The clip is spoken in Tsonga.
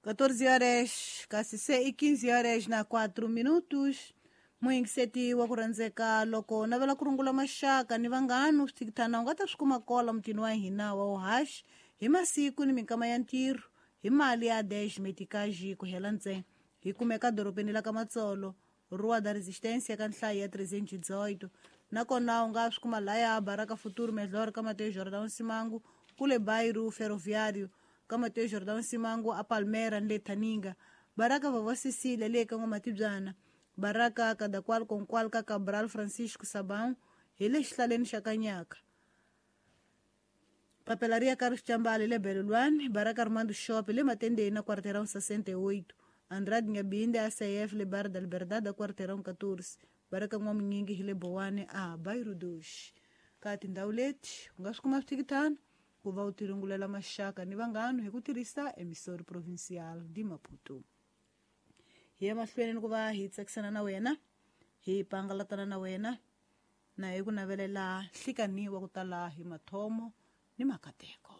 14 horas kasi se i 15 horas na 4 minutos. Muyingiseti wa ku rhandzeka, loko navela ku rungula maxaka ni vanghanu swithikithana u nga ta swi kuma kola mutini wa hina wa uhaxi hi masiku ni minkama ya ntirho hi mali ya 10 metikaji ku hela ntsena. Hi kumeka dorobeni la ka Matsolo, Rua da Resistência, ka nhlayo ya 318. Nakona u nga swi kuma laya Baraka Futuro Melhor, ka Mateus Jordão Simango, kule Bairro Ferroviário, ka Mateus Jordão Simango a Palmera ni le Thaninga, Baraka Vavó Cecília le ka N'wamatibyana, Baraka Kadakwal Konkwal ka Cabral Francisco Sabão hi le xihlaleni xa Kanyaka, Papelaria Carlos Chambale le Belolwane, Baraka Armando Shop le Matendeni na Quarteirão 68, Andrade Ngabinde ACF le Bar da Liberdade a Quarteirão 14, Baraka N'wamunyingi hi le Bowane a Bairro 2. Ka tindhawu leti u nga swi kuma swithikithana ku va u tirungulela maxaka ni vanghanu hi ku tirhisa Emissora Provincial de Maputo. Hi ya mahlweni ni ku va hi tsakisana na wena, hi pangalatana na wena, na hi ku navelela nhlikani wa ku tala hi mathomo ni makateko.